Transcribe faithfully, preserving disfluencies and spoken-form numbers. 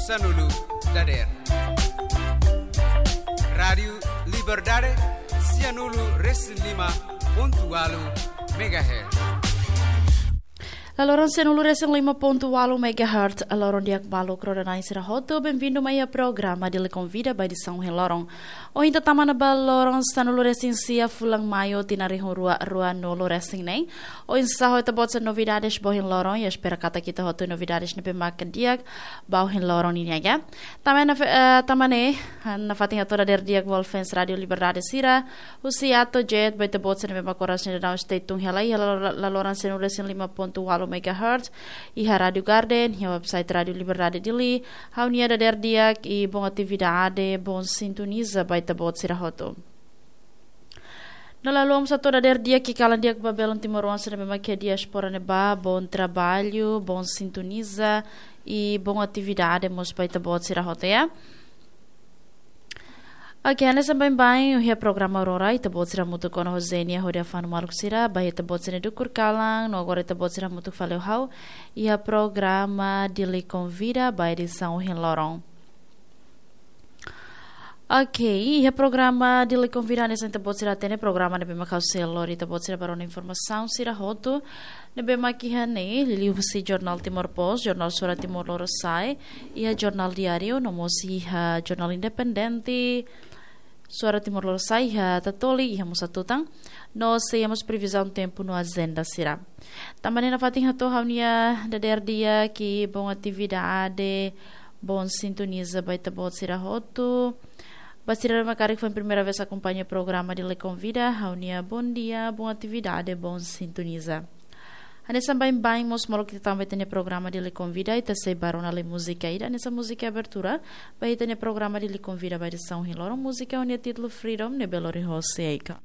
Sanulu dader. Rádiu Liberdade, sianulu resin lima pontu walu megahertz. Laloran sianulu resin lima pontu walu megahertz, loron di'ak ba maluk rona-na'in sira hotu, benvindu mai iha programa Dili Konvida ba edisaun ohin loron. Ohin ita tama ona ba loron sanulu resin sia fulan Maiu tinan rihun rua ruanulu resin neen. Oinsá ho ita-boot sira novidades ba ohin loron, i espera katak ita hotu novidades ne'ebé maka di'ak ba ohin loron nian, ya. Tanba ne'e, eh, tanba ne'e, ah, nafatin hato'o dader di'ak ba fans Rádiu Liberdade sira, husi A to'o Z, ba ita-boot sira ne'ebé maka oras ne'e daudaun stay tune hela, iha lalo-, laloran sianulu resin lima pontu walu megahertz, iha Rádiu Garden, iha website Rádiu Liberdade Dili, ha'u-nia dader di'ak i bom atividade, bom sintoniza ba ita-boot sira hotu. No la haluha mós hato'o dader di'ak i kalan di'ak ba belun timoroan sira ne'ebé maka iha diáspora ne'ebá, bom trabalho, bom sintoniza i bom atividade mós ba ita-boot sira hotu, ya. Oke, hanesan baibain, iha programa Aurora, ita-boot sira hamutuk ona ho Zenia hodi afán maluk sira, ba ita-boot sira-nia dukur kalan, no agora ita-boot sira hamutuk fali ho ha'u, iha programa Dili Konvida ba edisaun ohin loron. Oke, iha programa Dili Konvida hanesan ita-boot sira hatene programa ne'ebé maka ha'u sei lori ita-boot sira ba rona informasaun sira hotu ne'ebé maka iha ne'e, liuhusi jornál Timor Post, jornál Suara Timor Lorosa'e, iha jornál Diáriu, no mós iha jornál Independente, Suara Timor Lorosa'e, iha Tatoli, iha mós atutan, no sei iha mós previzaun tempu no ajenda sira. Tanba ne'e nafatin hato'o ha'u-nia dader di'ak i bom atividade, bom sintoniza ba ita-boot sira hotu. Ba sira ne'ebé karik foin primeira vez akompaña programa Dili Konvida, ha'u-nia bom dia, bom atividade, bom sintoniza. Hanesan baibain mós molok ita tama ba ita-nia programa Dili Konvida, ita sei ba rona lai múzika ida, hanesan múzika abertura ba ita-nia programa Dili Konvida ba edisaun ohin loron, múzika ho nia títulu Freedom, ne'ebé lori hosi Akon.